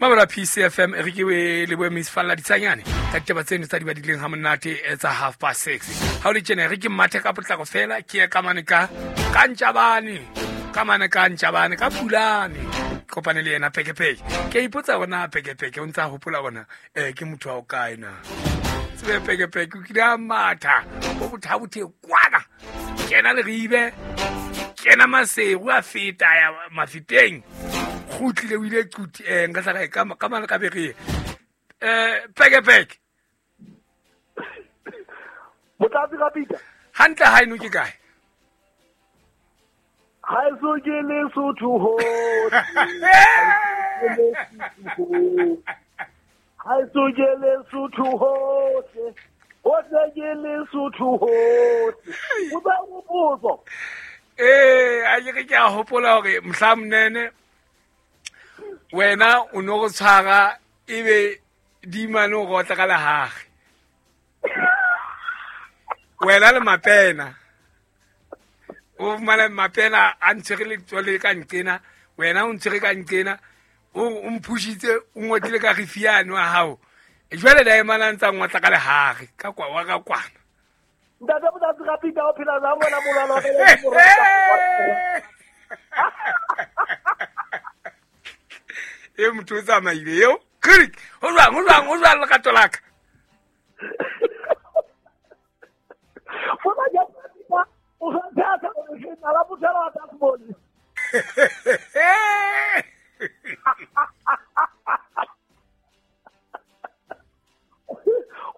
Mabela PCFM e re ke leboe Miss Falla Ditsanyane ka ditaba tseno tsa di badileng ha monate tsa 6:30. Ha o le tjena e re ke mathe ka potlako fela ke ye ka mane ka ka Ntjabane, ka mane ka Ntjabane ka Pulane. Kopane le yena Pekepeke. Ke a ipotsa hore na Pekepeke o ntse a hopola hore na ke motho wa o kae na. Tsebe Pekepeke o kile a matha bo bothabothe kwana. Kena Leribe, kena Maseru a feta ya Mafeteng. Kgutlile o ile Quti nka tla ka ka mane ka bere. Pekepeke. Motlatsi ka Peter. Hantle ha eno ke kae? Haeso ke Lesotho hohle. Haeso ke Lesotho hohle. Hohle ke Lesotho hohle. O tla hopotso. A ke re ke a hopola hore mohla monene wena o no go tshwara ebe di mane o rotla ka lehage. Wena le mapena. O fumana mapena a ntshwere letswalo ka nqena, wena o ntshwere ka nqena, o mphushitse, o ngotlile ka rifiane wa hao. Jwale daemane a ntse a ngotla ka lehare, ka kwa wa ka kwana. Ntate Motlatsi ka Peter o phela jwang wena molwana wa ka? E motho o tsamaile eo. Krik, ho jwang, ho jwang, ho jwang lerato la ka?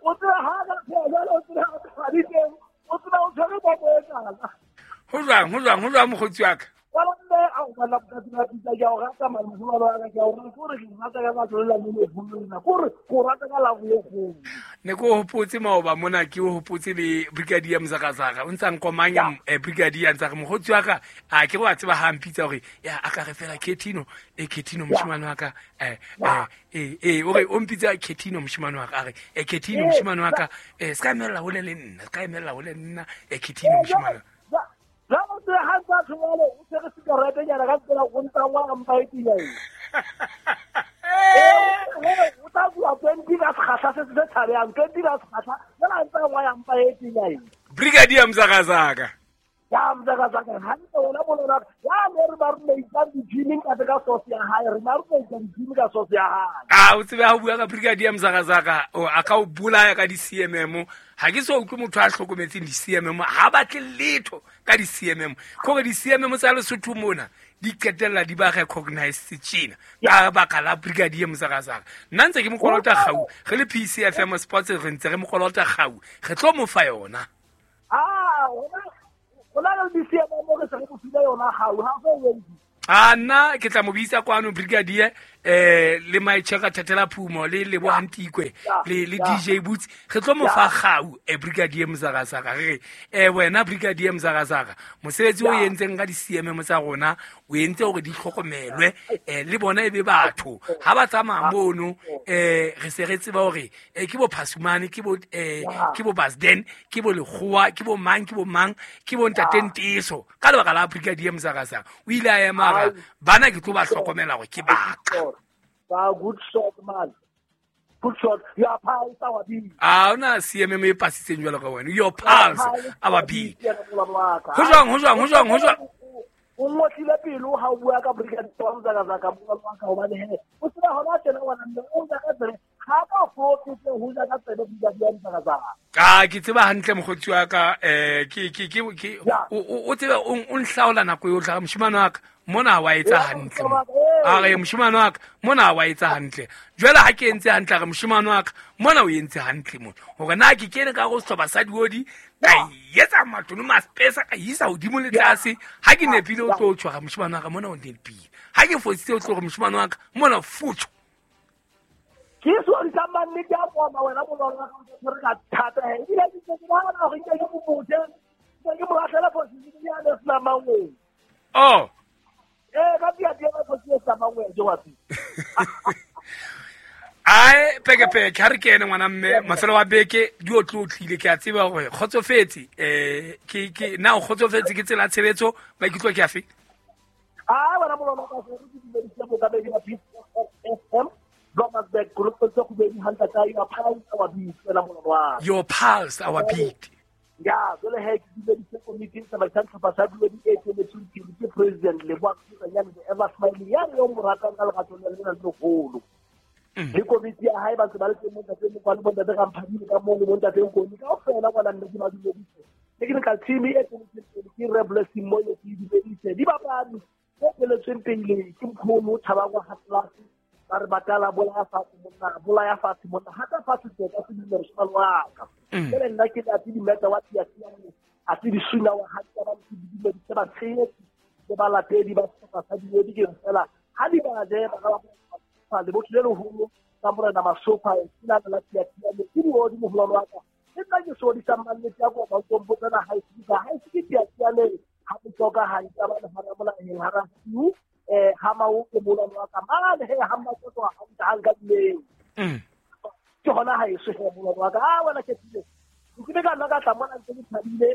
O tseba ha ka phela jwale, o tseba ha ka di teng, o tseba o tshwere bomo e tala. Ho jwang, ho jwang, ho jwang mokgotsi wa ka? Wala mme, a o batla mokgotsi wa pitsa, ke a o rata, mare mosimane wa ka, ke a o rata, ke hore ke rata ka batho le la mone holo nna, ke hore ke o rata ka labo e kgolo. Ne ke o hopotse maoba mona, ke o hopotse le Brigadier Mzakazaka, o ntsa nkomanya, Brigadier, a ntsa re mokgotsi wa ka, a ke re wa tseba ha a mpitsa hore, ya, a ka re fela Ketino, Ketino, moshemane wa ka, o re o mpitsa Ketino moshemane wa ka, a re, Ketino moshemane wa ka, se ka emella hole le nna, se ka emella hole le nna, Ketino moshemane wa ka. Jwale o tsebe ha ntse a tshwere, o tshwere sikarete nyana ka tsela, o ntsa wa mpa e tiya eng. O tla bua 20 ka sekgahla se se tshabehang, 20 ka sekgahla, jwale a ntse a ngwaya mpa e tiya eng. Brigadier Mzakazaka. Ya Mzakazaka, hantle wena molona, ya ne re ba romeitsang di-gym ka ka sauce ya hae, re ba romeitsa di-gym ka sauce ya hae. A o tsebe ha o bua ka Brigadier Mzakazaka, o a ka o bolaya ka di-C M M. Ha ke so utlwe motho a hlokometseng di-C M M, ha batle letho ka di-C M M. Ke hore di-C M M tsa Lesotho mona di qetella di ba recognized tjena ka baka la Brigadier Mzakazaka. Nna ntse ke mo kolota kgau, re le PCFM Sports re ntse re mo kolota kgau, re tlo mo fa yona. Ah, hona le di-C M M re se re mo file yona kgau, ha so e entse. A nna ke tla mo bitsa kwano Brigadier, le Maicheka Thatela Phumo, le Leboha Ntikwe, le DJ Boots, re tlo mo fa kgau, Brigadier Mzakazaka. Re re, wena Brigadier Mzakazaka, mosebetsi o entseng ka di-C M M tsa rona, o entse hore di hlokomelwe, le bona e be batho. Ha ba tsamaya mono, re se re tseba hore, ke bo Phasumane, ke bo Basden, ke bo Lekgowa, ke bo mang, ke bo mang, ke bo Ntate Nteso. Ka lebaka la Brigadier Mzakazaka, o ile a ema a re, bana ke tlo ba hlokomela hore ke ba ka. Ba good shot, man. Good shot. Your pulse, our beat. A hona C M M e pasitseng jwalo ka wena. Your pulse, our beat. Ho jwang, ho jwang, ho jwang, ho jwang? O ngotlile pelo ha o bua ka Brigadier Mzakazaka, bua ka hobane he, o tseba hona tjena ngwana mme, o ja ka tsebe, ha ka fotse ho ja ka tsebe Brigadier Mzakazaka. Ka ke tseba hantle mokgotsi wa ka, ke, ke, ke, ke, o, o, o tsebe, o, o nhlaola nako yohle, a re, moshemane wa ka, mona wa etsa hantle mo. A re, moshemane wa ka, mona wa etsa hantle. Jwale ha ke entse hantle, a re, moshemane wa ka, mona o entse hantle mo. Hore na ke kene ka go sehlopha sa diodi, ka etsa matono maspesa, ka isa hodimo le tlase. Ha ke nepile o tlo tshwara moshemane wa ka, mona o nepile. Ha ke fositse o tlo re moshemane wa ka, mona futho. Ke so di tsa mannete a koma wena molwana wa ka, o tshwere ka thata he. Ebile ke ntse ke nahana hore nke ke mo botse, nke ke mo lahlela phoso ya le sena mangweng. Oh. Ka pia pia ba phoso ya sena mangweng, ke wa pia. Ai, peke peke, ha re kene ngwana mme, mafelo a beke di o tlotlile, ke a tseba hore kgotsofetse, ke, ke, na o kgotsofetse ke tsela ya tshebetso, maikutlo ke afe? Ah, wena molwana wa ka, re ke dumedise bokabedi ba PFM. hantle ka your pulse our beat wena molwana wa ka. Your pulse our beat. Ya jwale he ke dumedise komiti e tsamaisang sehlopha sa Diodi e eteletsweng pele ke President Lebohang Setsanyane the ever smiling ya re yo mo ratang ka lerato le lena le leholo. Le komiti ya hae ba ntse ba le teng bontate Mokwane, bontate Ramphadile ka moo le bontate Nkoni kaofela ngwana mme ke ba dumedise. Technical team e eteletsweng pele ke Re Blessing Moyo ke e dumedise. Dibapadi tse eteletsweng pele ke Mkholo Thabang wa Hatlase ba re batala bolaya fatshe monna, bolaya fatshe monna, hata fatshe tseka se dumela moshemane wa ka. Jwale nna ke le ate dimeta wa Tiasiane, a te disuna wa hantle ba ntse di dumedise batshehetsi le balatedi ba sehlopha sa Diodi ke re fela ha di ba je ba ka ba lebotho le leholo ka Morena Masopha ke la la Tiasiane ke Diodi moholwane wa ka. Ke nna ke sokodisang mannete ya kopa o tlo ha e se ka ha e se ke Tiasiane ha bohloka ha e ka ba le hara molaheng hara siu ha maoto moholwane wa ka mane he ha mmakoto hantle ha nka dileng. Ke hona ha eso he moholwane wa ka. Ah wena ke tsile. Ke be ka nna ka tla mona ntse ke thabile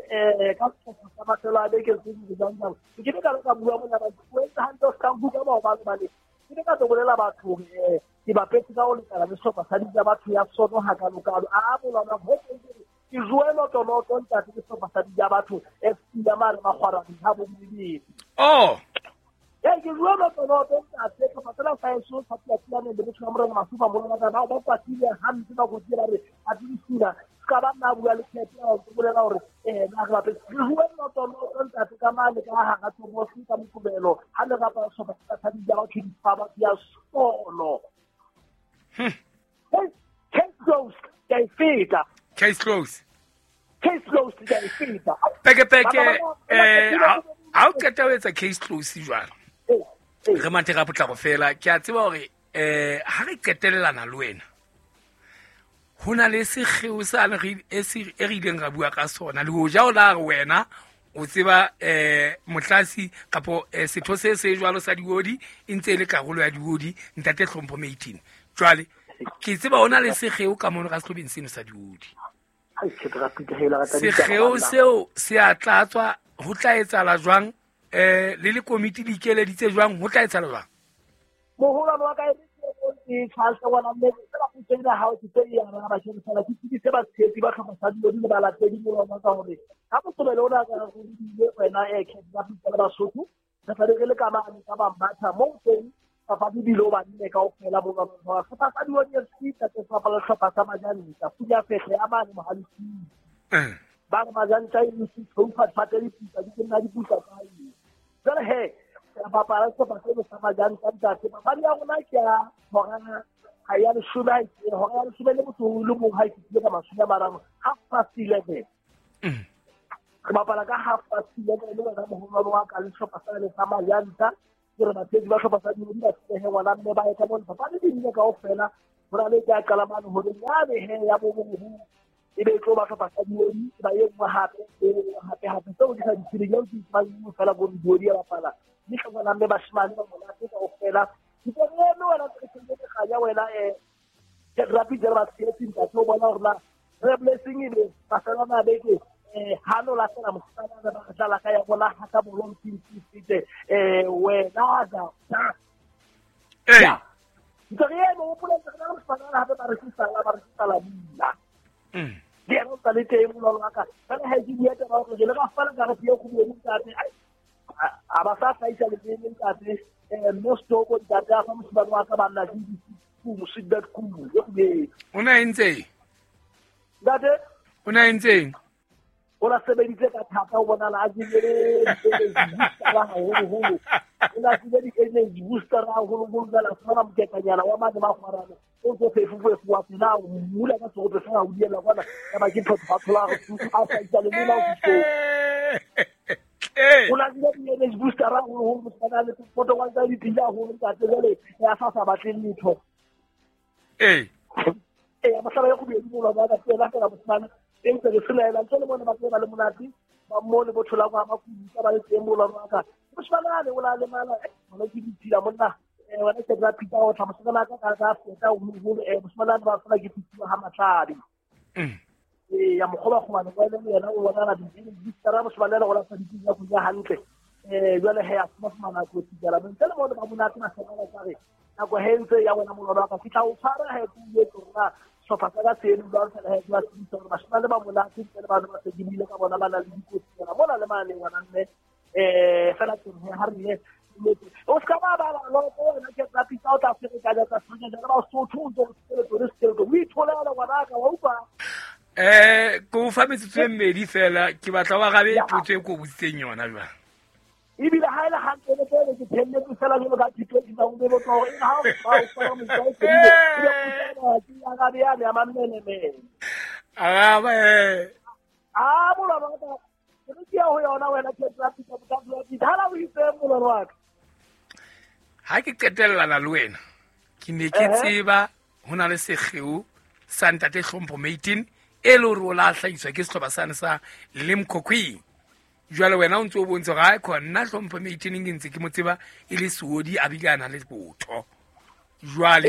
ka sehlopha sa mafelo a beke tse di jang jang. Ke be ka ka bua mona ba o entse hantle o ska nkuka maobane hobane ke be ka tlo bolela batho hore ke bapetse ka ho lekana le sehlopha sa ditsa batho ya sono hakalokalo. A moholwane wa ka ho ke joe loto ntate ke sehlopha sa ditsa batho FC ya mane Makgwarane ha bo Modibedi. Oh. Ee ke joe loto ntate sehlopha sena sa heso sa Tiasiane le botho ba Morena Masupa moholwane wa ka ba kwatile hampe ba kotile ba re a di suna ka ba nna bua le Tshepo a o bolela hore na re bapetse re joe loto ntate ka mane ka hara Tsobosi ka Moqebelo ha le bapala sehlopha sa ditsa batho di fa batho ya sono. Case closed, ke a e feta. Case closed. Case closed, ke a e feta. Peke peke ha o qeta ho etsa case close jwalo. Re mathe ka potlako fela ke a tseba hore ha re qetellana le wena ho na le sekgeo sane re e re ileng ra bua ka sona le hoja o la re wena o tseba motlasi kapo setho se se jwalo sa Diodi e ntse e le karolo ya Diodi ntate Hlompho Meiting. Jwale ke tseba ona le sekgeo ka mono ka sehlobeng seno sa Diodi. Sekgeo seo se a tlatswa ho tla etsahala jwang le le komiti le ikeleditse jwang ho tla etsahala jwang? Moholwane wa ka e ke tshwasa ngwana mme fela go tsena ha o tse ya rona ba tshela ke tsebise batshehetsi ba tlhopha sa Diodi le balatedi moholwane wa ka hore ha Moqebelo ona ka re bile wena Khetha Pitsa le Basotho re tla be re le ka mane ka Bambatha moo teng papadi di lo ba nne kaofela bo ba sehlopha sa Diodi FC tate sehlopha sehlopha sa Majanta Pula Fehle ya mane Mohalesing. Ba re Majanta e se tshoufa fate diputsa di nna diputsa tsa eng. Jwale he re bapala sehlopha seno sa Majanta ntate papadi ya rona ke ya hora ha ya leshome hora ya leshome le motho o le mong ha e fihlile ka 30, 11:30. Re bapala ka 11:30 le wena moholwane wa ka le sehlopha sa le sa Majanta. Ke re batshehetsi ba hlopha sa Diodi ba tshehe ngwana mme ba ye ka mona papadi di nne kaofela ho na le e ka qala mane horeng yane he ya boboho e be e tlo ba hlopha sa Diodi ba e nngwe hape e nngwe hape hape tseo di sa di tsebeng eo ke tsebang nngwe fela ko re Diodi ya bapala mme ngwana mme bashemane ba monate kaofela. Ke tlo re eme wena re sentse kganya wena Rapid le batshehetsi ntate o bona hore na Re Blessing e be mafelo a beke ha no lahlela moshemane ba dlala ka ya bona ha ka bolong tsitse wena da eh ntse re eme o pola re na moshemane hape ba re sala bula di ena o le teng mololo wa ka fela ha ke bua taba hore le ka fela ka re pie go bua ntate a ba sa hlaisa le teng ntate mo stoko ntate a fa moshemane wa ka ba nna ke ku mosiddat ku e go be o na entse ntate o na entseng o la sebeditse ka thata o bonala a jele booster haholoholo o la jele di-energy booster haholoholo jwale a fumana moketanyana wa mane Makgwarane o ntso phefufefu wa pela o mmula ka serope sa o diela kwana ya ba ke photho a hlahisa le mona o fihlong o la jele di-energy booster haholoholo moshemane a le poto wa tsa dipila haholo ntate jwale ya sa batleng letho ee mohlala ya kgobedi molwana wa ka fela fela moshemane e ntse re selaela ntse le bone ba tseba le monate ba mo le botho la kwa makuta ba le teng molwana wa ka moshemane a le o la lemala mona ke ditshila monna wena ke tla phita o tla moshemane ka ka feta o moholo moshemane a ba fela ke phitiwa ha Matladi ya mokgoba kgobane wa le yena o bona di tsara moshemane le go la sa ditshila go ja hantle jwale he a fumana kotsi jala ntse le bone ba monate ba sena ka re Nako he ntse ya wena molwana wa ka ke tla o tshwara he ke o jwetse hore na sehlopha sa ka se eme jwang fela he ke ba tsebisa hore bashemane ba monate ntle le bana ba se ke buile ka bona ba na le dikotsi tsena mona le mane ngwana mme fela teng he ha re ye o ska ba ba loko wena ke tla pitsa o tla ferekanya tsa ferekanya le ba Sotho o ntse o sekeleto le sekeleto o itholela ngwanaka wa utlwa. Ko o fa metsotso e mmedi fela ke batla wa gabe potso e ko botsitseng yona jwang. Ebile ha e le hantle le pele ke thelletse fela jwalo ka thuto ke tsa o be botsa hore ha o ba o fana motsa o fedile ebe o tsaya ke ya gabe yane ya mammenemene. Araba A molwana wa ka ke re ke ya ho yona wena ke tla pitsa botsa pitsa ha la o itse molwana wa ka. Ha ke qetellana le wena ke ne ke tseba ho na le sekgeo sa ntate Hlompho Maitin e le hore o la hlahiswa ke sehlopha sane sa Limkokwing. Jwale wena o ntse o bontsha hore ha khona nna Hlompho Maitin ke ntse ke mo tseba e le seodi a bile a na le botho. Jwale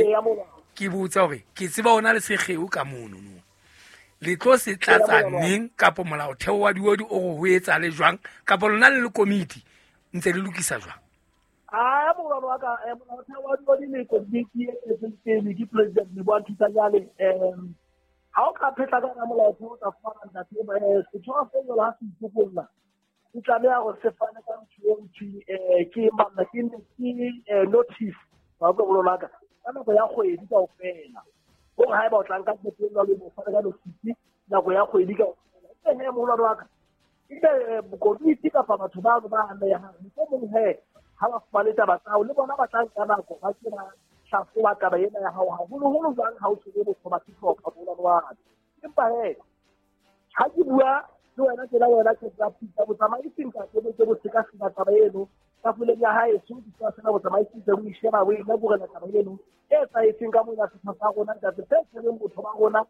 ke botsa hore ke tseba ona le sekgeo ka mono no. Le tlo se tlatsa neng kapo molaotheo wa diodi o re ho etsa le jwang kapo lona le le komiti ntse le lokisa jwang? A molwana wa ka molaotheo wa diodi le komiti e etseng pele ke president Leboa Thusanyane ha o ka phetla ka molaotheo o tla fumana ntate setho se jwalo ha se itokolla o tlameha hore se fane ka ntho e nthwe ke manna ke notice wa utlwa molwana wa ka ka nako ya kgwedi kaofela. Hore haeba o tla nka qeto e jwalo, o fane ka notice nako ya kgwedi kaofela. Ebe he molwana wa ka ebe komiti kapa batho bano ba amehang mohlomong he ha ba fumane taba tsa hao le bona ba tla nka nako ba ke ba hlahloba taba ena ya hao haholoholo jwang ha o tshwere botho ba sehlopha molwana wa ka. Empa he ha ke bua le wena tjena wena ke tla pitsa botsamaisi ntate bo ke bo sekaseka taba eno tafoleng ya hae so di tswa fela botsamaisi tse o e sheba o e lekorela taba eno e etsahetseng ka mona setho sa rona ntate se tshwereng botho ba rona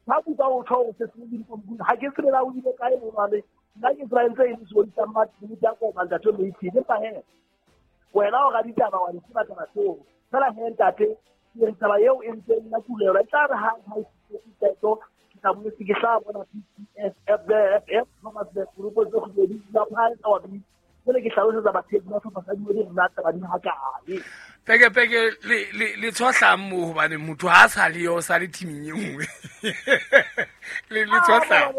ba bua o tjho hore se se le dikomkung ha ke tsebe na o ile kae molwane nna ke tseba ntse e le seodi sa Mmatini ya koma ntate Maitin. Empa he wena o raditaba wa di tseba taba tseo fela he ntate ke re taba eo e ntse nna kulelwa e tla re ha ha e qeto ke tla boetse ke tla bona PCSFF group tse kgwedi la phae tsa wa bi jwale ke hlalosetsa batshehetsi ba sehlopha sa diodi nna taba di ha kae. Peke peke le tshohlang moo hobane motho ha sa le yo sa le teaming e nngwe. Le tshohlang.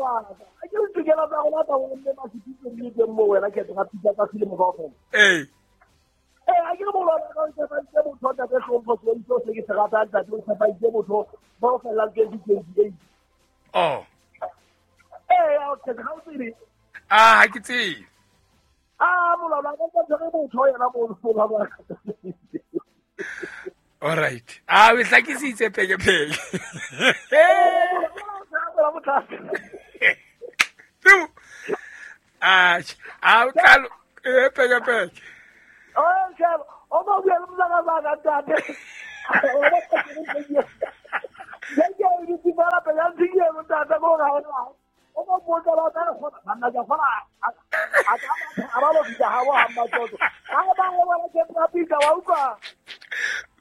Ke re tokelo tsa rona tsa bomme masepitso di le teng moo wena ke tla pitsa ka selemo kaofela. A ke re molwana ka o tshepaitse motho ntate Hlompho Seo se ke se ratang ntate o tshepaitse motho ba o fellang 2028. Oh. A o tsebe ha o tsebe. Ah ha ke tsebe. Ah molwana ka tshwere motho yena molwana wa ka. All right. Ah o hlakisitse peke peke. Ah ah o tla peke peke. Oh shaba o ba bua le mosaka ba ka ntate. O ba ke ke di tsibala pele a ntse ntate go ga ona. O ba botsa ba tla go banna ja fela a ka a ba lo fitla ha wa mmatsoto. Ha ba go bona ke pitsa wa utlwa.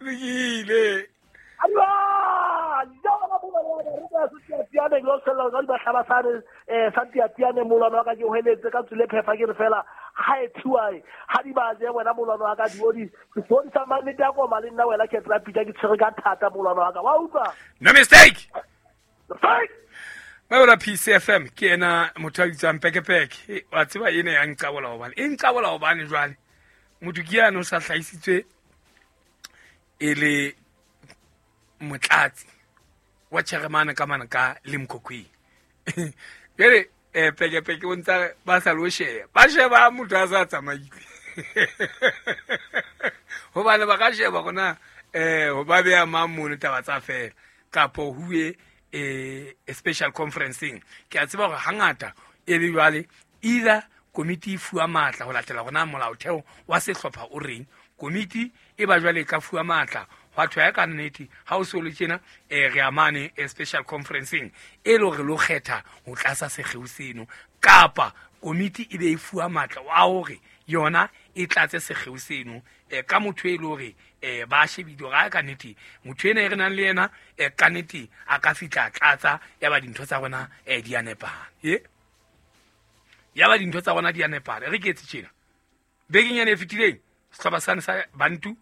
Lokile. Aiwa, ja ba bona ba re ka se tiane lo sella ga di ba hlaba sa re sa tiane molwana wa ka ke hweletse ka tsule phefa ke re fela ha e thiwa ha di ba je wena molwana wa ka diodi diodi sa mannete ya koma le nna wena ke tla pitsa ke tshwere ka thata molwana wa ka wa utlwa. No mistake. Fight. Ba PCFM ke ena motho a bitswang Pekepeke wa tseba ena ya nqabola hobane e nqabola hobane jwale motho ke yana o sa hlahisitswe e le motlatsi wa chairman ka mana ka Limkokwing. Jwale Pekepeke o ntsa ba sa lo sheba ba sheba motho a sa tsamaile hobane ba ka sheba gona ho ba beya mang mono taba tsa fela kapo huwe special conferencing. Ke a tseba hore hangata e be jwale either komiti e fuwa matla ho latela hore na molaotheo wa sehlopha o reng komiti e ba jwale ka fuwa matla hwa thwe ya ka nnete ha o so le tjena re amane special conferencing e le hore lo kgetha ho tlasa sekgeo seno kapa komiti e be e fuwa matla wa hore yona e tlatse sekgeo seno ka motho e le hore ba shebile hore ka nnete motho ena e re nang le yena ka nnete a ka fihla tlatsa ya ba dintho tsa rona di a nepahala. Ya ba dintho tsa rona di a nepahala. Re ke etse tjena bekeng ena e fetileng sehlopha sane sa Bantu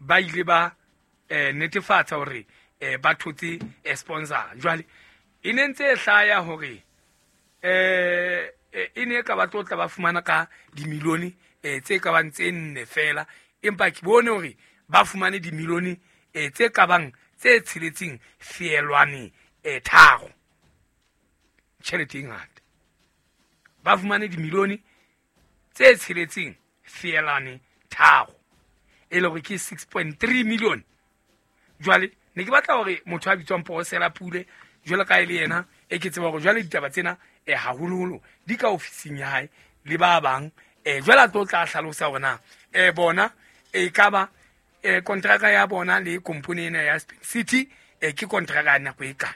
Ba ile ba netefatsa hore ba thotse sponsor. Jwale e ne ntse e hlaya hore e ne ka ba tlotla ba fumana ka dimilione tse ka bang tse 4 fela, empa ke bone hore ba fumane dimilione tse ka bang tse 6 feelwane 3. Tjhelete e ngata. Ba fumane dimilione tse 6 feelwane 3, e le hore ke 6.3 million. Jwale ne ke batla hore motho a bitswang Posela Pule jwale ka e le yena e ke tseba hore jwale ditaba tsena haholoholo di ka ofising ya hae le ba bang, jwale a tlo tla hlalosa hore na bona e ka ba kontraka ya bona le company ena ya Spin City ke kontraka ya nako e kae.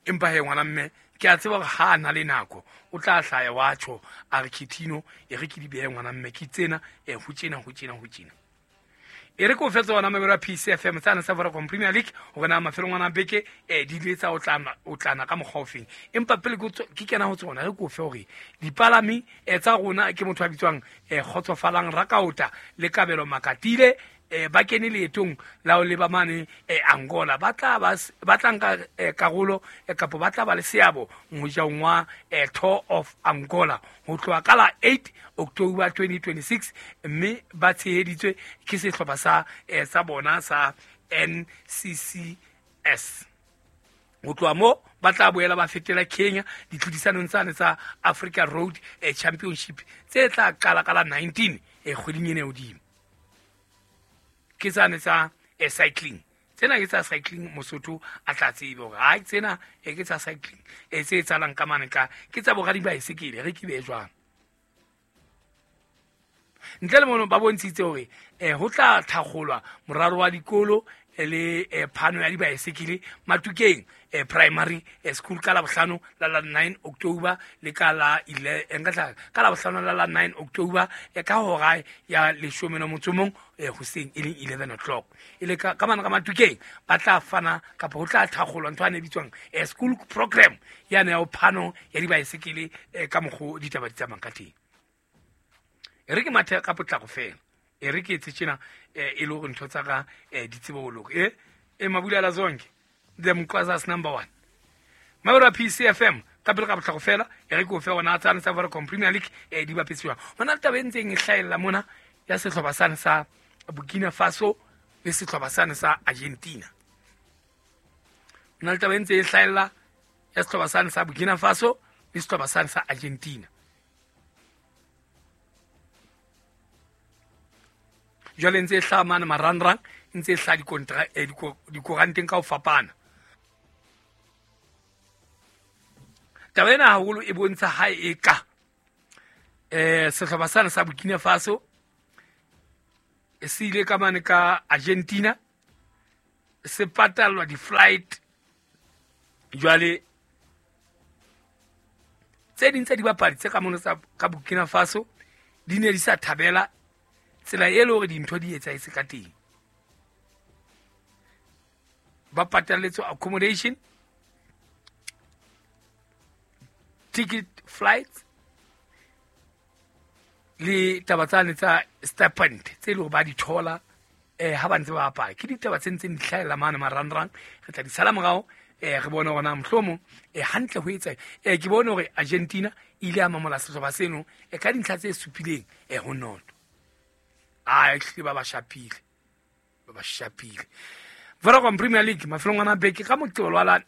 Empa he ngwana mme ke a tseba hore ha a na le nako o tla hlaya wa tjho a re Kitino e re ke di behe ngwana mme ke tsena ho tjena ho tjena ho tjena. E re ko fetsa hona mabelo a PCFM tsana sa Vodacom Premier League hore na mafelong ana beke di ile tsa o tlana ka mokgwa ofeng. Empa pele ke kena ho tsona re ko fe hore dipalami tsa rona ke motho a bitswang Kgotsofalang Rakaota le Kabelo Makatile ba kene leetong la ho leba mane Angola. Ba tla nka karolo kapa ba tla ba le seabo mojaong wa Tour of Angola ho tloha ka la 8 October 2026, mme ba tsheheditswe ke sehlopha sa bona sa NCCS. Ho tloha mo ba tla boela ba fetela Kenya ditlhodisanong tsane tsa Africa Road Championship tse tla qala ka la 19 kgweding ena hodimo. Ke tsane tsa cycling. Tsena ke tsa cycling, Mosotho a tla tsebe hore ha tsena ke tsa cycling tse etsahalang ka mane ka ke tsa boradi baesekele re ke be jwang. Ntle le mono ba bontshitse hore ho tla thakgolwa moralo wa dikolo le phano ya dibaesekele Matukeng Primary School ka Labohlano la la 9 October le ka la ka Labohlano la la 9 October ka hora ya 11 hoseng e leng 11 o'clock. E le ka mana ka Matukeng ba tla fana kapa ho tla thakgolwa ntho e bitswang school program ya ne ya phano ya dibaesekele ka mokgo ditaba di tsamayang ka teng. E re ke mathe ka potlako fela, e re ke etse tjena e le hore ntho tsa ka di tsebe ho loka. Mabulela zonke the Mkwazas number 1. Mabura PCFM ka pele ka potlako fela, e re ke o fe hona tsane sa Vodacom Premier League di bapetswe. Hona le taba e ntseng e hlahella mona ya sehlopha sane sa Burkina Faso le sehlopha sane sa Argentina. Hona le taba e ntse e hlahella ya sehlopha sane sa Burkina Faso le sehlopha sane sa Argentina. Jwale ntse e hlaha mane marangrang, ntse e hlaha dikoranteng ka ho fapana. Taba ena haholo e bontsha ha e ka sehlopha sane sa Burkina Faso se ile ka mane ka Argentina se patallwa di-flight. Jwale tse ding tsa dibapadi tse ka mono tsa ka Burkina Faso di ne di sa thabela tsela e le hore dintho di etsahetse ka teng. Ba patalletswe accommodation, ticket, flights le taba tsane tsa stipend tse le hore ba di thola ha ba ntse ba bapala. Ke ditaba tse ntseng di hlahella mane marangrang, re tla di sala morao re bone hore na mohlomong hantle ho etsa. Ke bone hore Argentina e ile ya mamola sehlopha seno ka dintlha tse supileng ho 0. A ba ba shapile. Vodacom Premier League mafelong ana beke ka Moqebelo wa la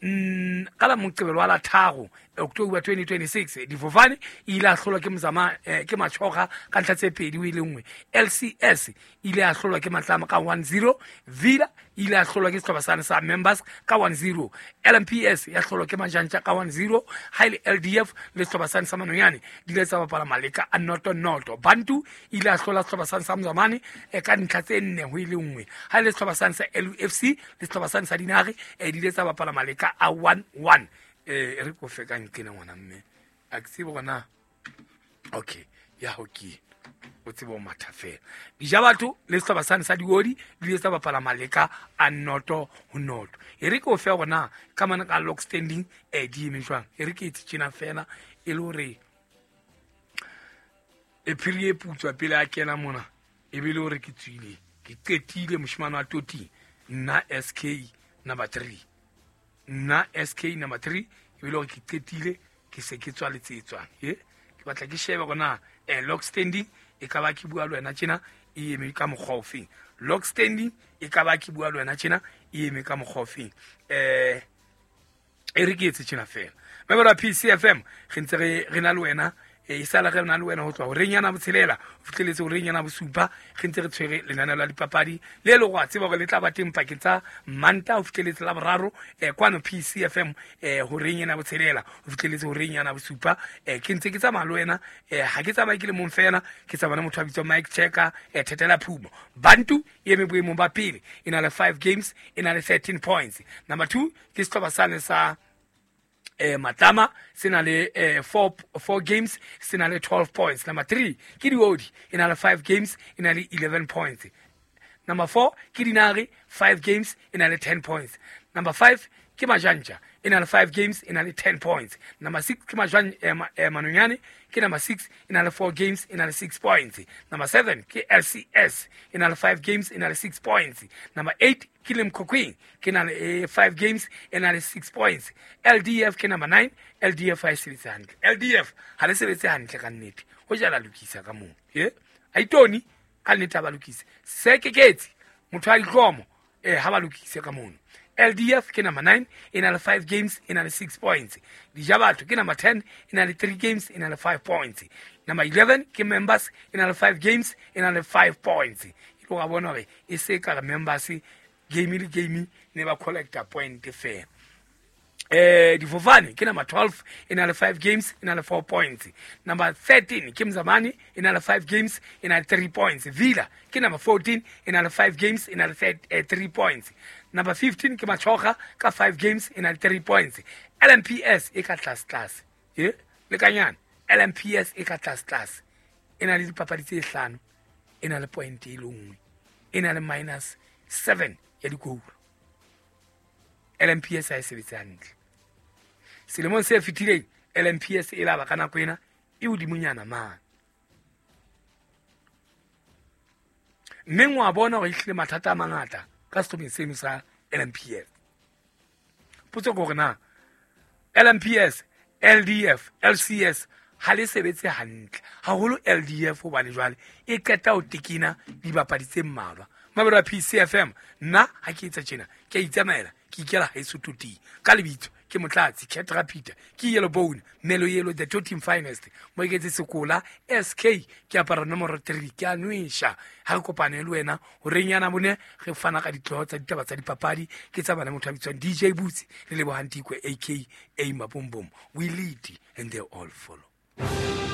ka la Moqebelo wa la 3 October 2026 difofane e ile a hlolwa ke Mzama ke Machoga ka ntlha tse 2 ho ile 1. LCS ile a hlolwa ke Matlama ka 1-0. Villa ile a hlolwa ke sehlopha sane sa Members ka 1-0. LMPS ya hlolwa ke Majantja ka 1-0. Ha ile LDF le sehlopha sane sa Manonyane di ile tsa bapala maleka a 0-0. Bantu ile a hlola sehlopha sane sa Mzamane ka ntlha tse 4 ho ile 1. Ha ile sehlopha sane sa LUFC le sehlopha sane sa Dinare di ile tsa bapala maleka a 1-1. Re ko fe ka nkena ngwana mme a ke tsebe gona. Okay, ya hoki o tsebe o matha fela. Dija batho le sehlopha sane sa Diodi di ile tsa bapala maleka a 0-0. E re ke o fe gona ka mana ka log standing di eme jwang. E re ke etse tjena fela e le hore e phiri e putswa pele a kena mona. E be le hore ke tswile, ke qetile moshemane wa toting, nna SK number 3. Nna SK number 3, e be le hore ke qetile, ke se ke tswa le tse tswang. Ke batla ke shebe hore na log standing e ka ba ke bua le wena tjena e eme ka mokgwa ofeng. Log standing e ka ba ke bua le wena tjena e eme ka mokgwa ofeng. E re ke etse tjena fela. Member PCFM re ntse re na le wena, e sala re na le wena ho tloha horeng ya botshelela ho fihleletse horeng ya bosupa, re ntse re tshwere lenaneo la dipapadi le le go tseba hore le tla ba teng pakeng tsa Manta ho fihleletse la boraro kwano PCFM horeng ya botshelela ho fihleletse horeng ya bosupa. Ke ntse ke tsamaya le wena, ha ke tsamaye ke le mong fela, ke tsamaya le motho a bitswang Mike Checker, Thetela Phumo. Bantu e eme boemong ba pele, e na le 5 games, e na le 13 points. Number 2 ke sehlopha sane sa Matlama, se na le 4 games, se na le 12 points. Number 3 ke Diodi, e na le 5 games, e na le 11 points. Number 4 ke Dinare, 5 games, e na le 10 points. Number 5 ke Majanja, e na le 5 games, e na le 10 points. Number 6 ke Manonyane, ke number 6, e na le 4 games, e na le 6 points. Number 7 ke LCS, e na le 5 games, e na le 6 points. Number 8 ke Limkokwing, ke na le 5 games, e na le 6 points. LDF ke number 9, LDF ha e sebetse hantle. LDF ha le sebetse hantle ka nnete. Ho jala lokisa ka moo. Aitoni ka nnete ha ba lokise. Sekeketsi motho a dihlomo ha ba lokise ka mono. LDF ke number 9, e na le 5 games, e na le 6 points. Dijabatho ke number 10, e na le 3 games, e na le 5 points. Number 11 ke Members, e na le 5 games, e na le 5 points. E lo ga bona hore e se ka re Members game le game ne ba collecta point fela. Difofane ke number 12, e na le 5 games, e na le 4 points. Number 13 ke Mzamani, e na le 5 games, e na le 3 points. Villa ke number 14, e na le 5 games, e na le 3 points. Number 15 ke Machoga ka 5 games, e na le 3 points. LMPS e ka tlase tlase. Le kanyana LMPS e ka tlase tlase. E na le dipapadi tse hlano, e na le point e le nngwe, e na le minus 7 ya dikolo. LMPS ha e sebetse hantle. Selemong se fetileng LMPS e laba ka nako ena e hodimonyana mane. Mme wa bona hore ehlile mathata a mangata ka sehlopheng seno sa LMPS. Potso ke hore na LMPS, LDF, LCS ha le sebetse hantle. Haholo LDF hobane jwale e qeta ho tekena dibapadi tse mmalwa. Mabelo a PCFM nna ha ke etsa tjena ke a itsamaela, ke ikela haeso toting ka lebitso ke Motlatsi Ketra Peter, ke Yellow Bone Melo Yellow, the Totem Finest, mo iketse sekola SK, ke apara nomoro 3, ke a nwesha. Ha re kopane le wena horeng yana bone re fana ka ditloho tsa ditaba tsa dipapadi, ke tsa bana motho a bitswang DJ Boots le Lebohang Tikwe aka Mabombom. We lead and they all follow.